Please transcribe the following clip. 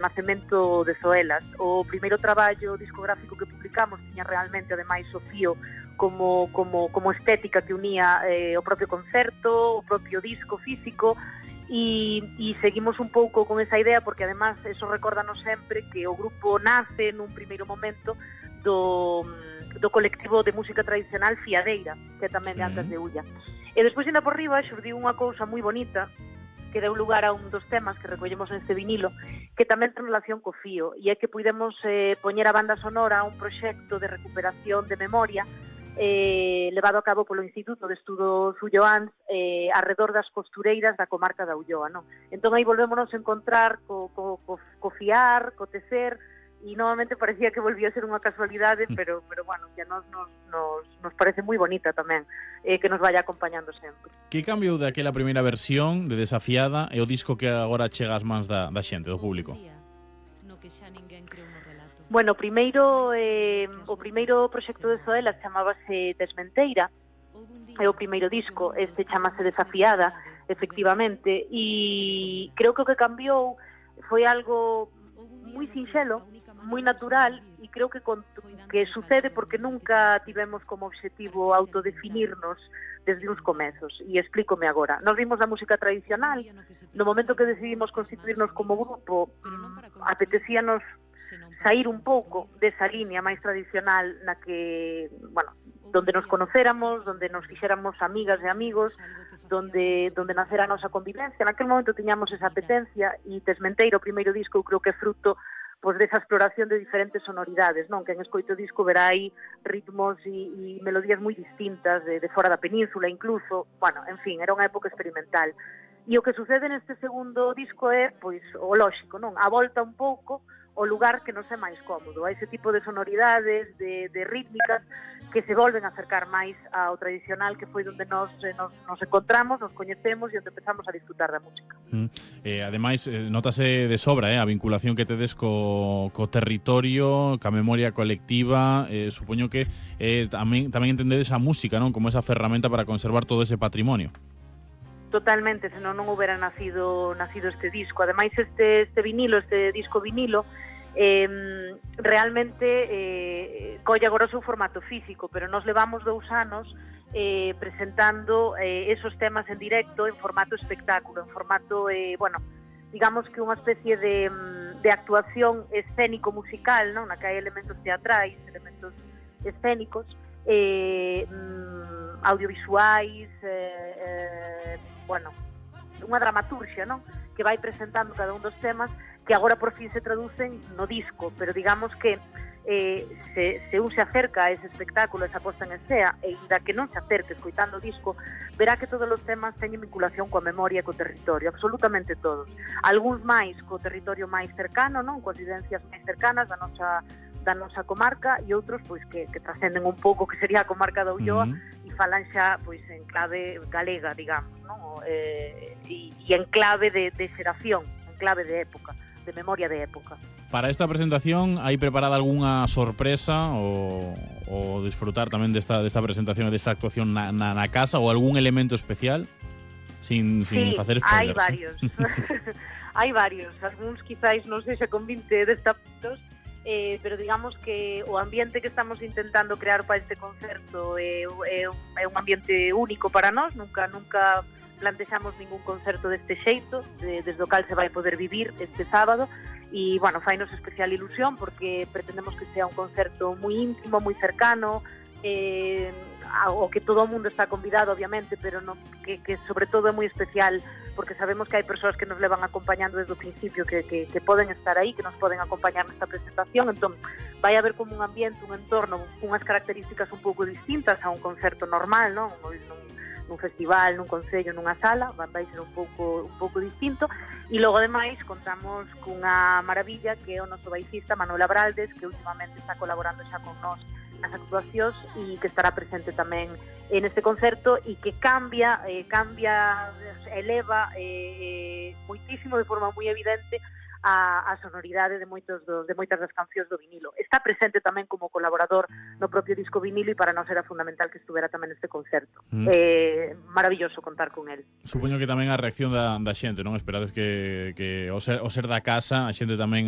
nacemento de Zoelas. O primeiro traballo discográfico que publicamos tiña realmente, ademais, o fío como estética que unía o propio concerto, o propio disco físico, e seguimos un pouco con esa idea, porque además eso recórdanos sempre que o grupo nace nun primeiro momento do colectivo de música tradicional Fiadeira, que tamén de Antas de Ulla. E despois, ainda por riba, xurdiu unha cousa moi bonita que deu lugar a un dos temas que recollemos neste vinilo, que tamén ten relación co fío, e é que puidemos poñer a banda sonora a un proxecto de recuperación de memoria levado a cabo polo Instituto de Estudos Ulloáns arredor das costureiras da comarca da Ulloa, non? Entón aí volvémonos a encontrar co fiar, co tecer, e novamente parecía que volvía a ser unha casualidade, pero bueno, que nos parece moi bonita tamén, que nos vaya acompañando sempre. Que cambiou daquela primeira versión de Desafiada e o disco que agora chega ás mans da xente, do público? Bueno, o primeiro proxecto de Zoela chamábase Desmenteira, é o primeiro disco, este chamase Desafiada, efectivamente, e creo que o que cambiou foi algo moi sinxelo, moi natural, e creo que sucede porque nunca tivemos como objetivo autodefinirnos desde uns comezos, e explícome agora. Nos vimos da música tradicional, no momento que decidimos constituirnos como grupo, apetecíanos sair un pouco desa línea máis tradicional na que, bueno, donde nos conocéramos, donde nos fixéramos amigas e amigos, donde nacera a nosa convivencia. Naquel momento tiñamos esa apetencia, e Desmenteira, o primeiro disco, eu creo que é fruto pois desa exploración de diferentes sonoridades, non? Que en escoito disco verá aí ritmos e melodías moi distintas de fora da península incluso. Bueno, en fin, era unha época experimental. E o que sucede neste segundo disco é, pois, o lóxico, non? A volta un pouco o lugar que nos é máis cómodo, a ese tipo de sonoridades, de rítmicas que se volven a acercar máis ao tradicional, que foi onde nos encontramos, nos coñecemos e onde empezamos a disfrutar da música. Ademais, notase de sobra a vinculación que tedes co territorio, ca memoria colectiva. Supoño que tamén entendedes a música, non, como esa ferramenta para conservar todo ese patrimonio. Totalmente, senón non houbera nacido este disco. Ademais, este disco vinilo, realmente colle agora o seu formato físico, pero nos levamos 2 anos presentando esos temas en directo en formato espectáculo, en formato, bueno, digamos que unha especie de actuación escénico-musical, non? Na que hai elementos teatrais, elementos escénicos, audiovisuais, bueno, unha dramaturxia, non? Que vai presentando cada un dos temas, que agora por fin se traducen no disco, pero digamos que se un se acerca a ese espectáculo, esa posta en escena, e ainda que non se acerque escoitando o disco, verá que todos os temas teñen vinculación coa memoria e co territorio, absolutamente todos. Algúns máis co territorio máis cercano, non? Coas vivencias máis cercanas da nosa comarca, e outros pois que trascenden un pouco que sería a comarca da Ulloa, e falan xa pois en clave galega, digamos, non? E en clave de xeración, en clave de época, de memoria de época. Para esta presentación hai preparada algunha sorpresa ou disfrutar tamén desta presentación e desta actuación na casa, ou algún elemento especial sin facer spoilers? Hai varios. Hai varios, algúns quizáis non sei se con 20 destapados, pero digamos que o ambiente que estamos intentando crear para este concerto é un ambiente único para nós. Nunca plantexamos ningún concerto deste xeito, desde o cal se vai poder vivir este sábado, e, bueno, fainos especial ilusión porque pretendemos que sea un concerto moi íntimo, moi cercano, o que todo o mundo está convidado, obviamente, pero que sobre todo é moi especial porque sabemos que hai persoas que nos levan acompañando desde o principio, que poden estar aí, que nos poden acompañar nesta presentación. Entón, vai haber como un ambiente, un entorno, unhas características un pouco distintas a un concerto normal, non? Nun festival, nun concello, nunha sala, vai ser un pouco distinto. E logo, ademais, contamos cunha maravilla que é o noso baixista Manuel Abraldes, que últimamente está colaborando xa con nós nas actuacións e que estará presente tamén neste concerto, e que cambia, eleva moitísimo, de forma moi evidente, a sonoridade de moitas das cancións do vinilo. Está presente tamén como colaborador no propio disco vinilo, e para nós era fundamental que estuvera tamén neste concerto. Maravilloso contar con el. Supoño que tamén a reacción da xente, non? Esperades que o ser da casa, a xente tamén